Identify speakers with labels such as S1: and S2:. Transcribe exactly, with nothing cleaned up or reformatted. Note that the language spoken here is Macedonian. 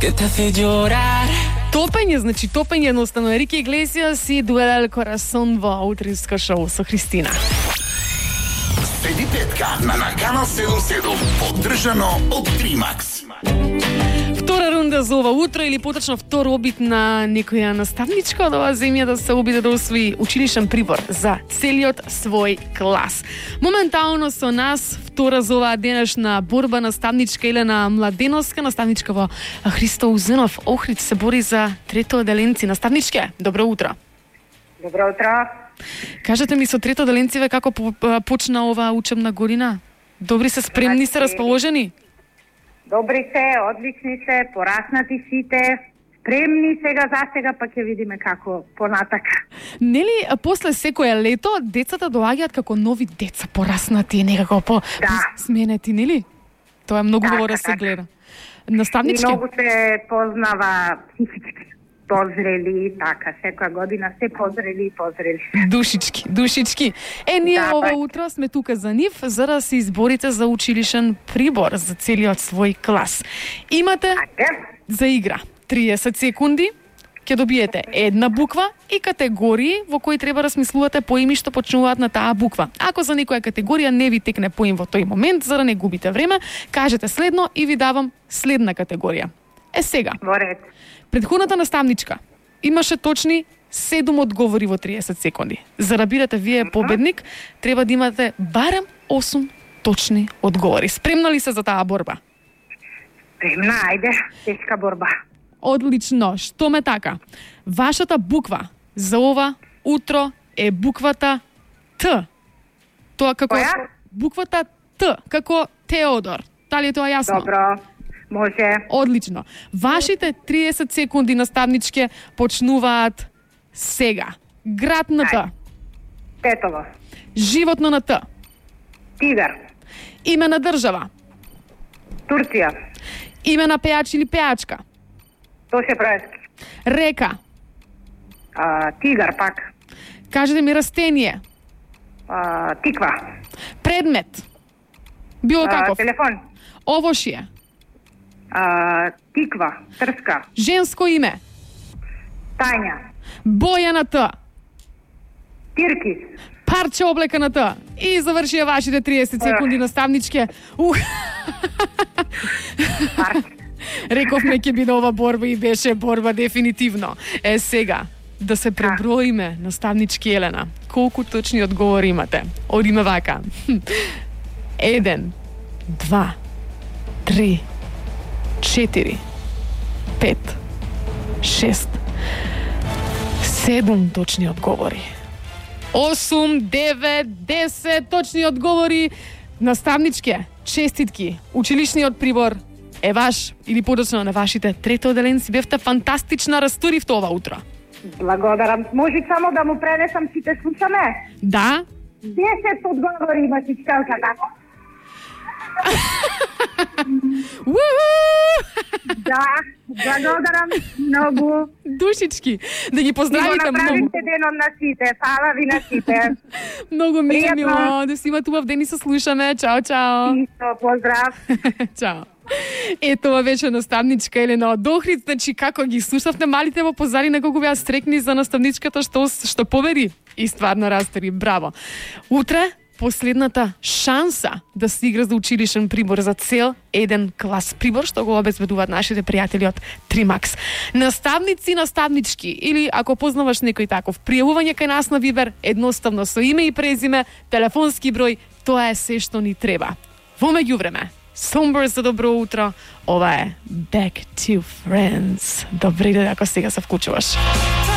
S1: que te hace llorar.
S2: Топење, значи топење едноставно. Ерике Иглесиас и Дуел ел Корасон во утринско шоу со Христина.
S3: Седи петка на Накана седум седум, поддржано од Тримакс.
S2: Втора рунда за ова утро, или поточно втор обид на некоја наставничка од оваа земја да се обиде да освои училишен прибор за целиот свој клас. Моментално со нас втора за оваа денешна борба наставничка Елена Младеновска, наставничка во Христо Узенов Охрид, се бори за трето оделенци. Наставничке, добро утро.
S4: Добро утро.
S2: Кажете ми, со трето оделенциве како почна оваа учебна година? Добри се, спремни се, расположени?
S4: Добри се, одлични се, пораснати сите, спремни сега за сега, па ќе видиме како понатака.
S2: Нели после секое лето децата доаѓаат како нови деца, пораснати, некако по
S4: Да.
S2: сменети, нели? Тоа е многу
S4: Така,
S2: добро да се
S4: така.
S2: гледа.
S4: И
S2: Наставнички,
S4: многу се познава психички, позрели, така, секоја година се позрели и позрели.
S2: душички, душички. Е, ние
S4: Да,
S2: ова
S4: така.
S2: утро сме тука за нив, за да се изборите за училишен прибор за целиот свој клас. Имате
S4: Ајде,
S2: за игра триесет секунди, ќе добиете една буква и категории во кои треба да смислувате поими што почнуваат на таа буква. Ако за некоја категорија не ви текне поим во тој момент, за да не губите време, кажете следно и ви давам следна категорија. Е сега,
S4: во ред.
S2: предходната наставничка имаше точни седум одговори во триесет секунди. За да бидете вие победник, треба да имате барем осум точни одговори. Спремна ли се за таа борба?
S4: Спремна, ајде, тешка борба.
S2: Одлично, што ме така. Вашата буква за ова утро е буквата Т. Тоа како
S4: Која?
S2: буквата Т, како Теодор. Дали е тоа јасно?
S4: Добро, може.
S2: Одлично. Вашите триесет секунди наставничке почнуваат сега. Град на Т,
S4: Ајде. Тетово,
S2: животно на Т,
S4: тигар,
S2: име на држава,
S4: Турција,
S2: име на пејач или пејачка,
S4: Тоше Проевски,
S2: река,
S4: а, тигар пак,
S2: кажете ми растение,
S4: а, тиква,
S2: предмет, било
S4: а,
S2: каков,
S4: телефон,
S2: овошје,
S4: а, тиква, трска,
S2: женско име,
S4: тања,
S2: боја на Т,
S4: тиркис,
S2: парче облека на Т. И завршија вашите триесет секунди наставничке. Ух.
S4: парк.
S2: Рековме ќе биде ова борба и беше борба дефинитивно. Е сега да се преброиме, наставнички Елена. Колку точни одговори имате? Одиме вака. Еден, два, три, четири, пет, шест, седум точни одговори. осум, девет, десет точни одговори. Наставничке, честитки. Училишниот прибор е ваш или подоцна на вашите трето оделенци. Бевте фантастична, растуривте ова утро.
S4: Благодарам. Може само да му пренесам сите слушаме?
S2: Да?
S4: десет одговори има чичкалката.
S2: Уху!
S4: Да, благодарам многу.
S2: Душички, да ги
S4: И го
S2: поздравите многу.
S4: направите денот на сите. Фала ви на сите.
S2: Многу ми е
S4: Пријатно.
S2: мило да си имате убав ден и се слушаме. Чао, чао.
S4: Исто, поздрав.
S2: Чао. Ето ова беше наставничка Елена од Охрид. Значи, како ги слушавте малите во позадина, колку беа стрекни за наставничката што, што победи. И стварно растери. Браво. Утре, последната шанса да се игра за училишен прибор за цел еден клас прибор, што го обезбедуваат нашите пријатели од Тримакс. Наставници, наставнички, или ако познаваш некој таков, пријавување кај нас на Вибер, едноставно со име и презиме, телефонски број, тоа е се што ни треба. Во меѓувреме, Somber за добро утро, ова е Back to Friends. Добри ден ако сега се вклучуваш.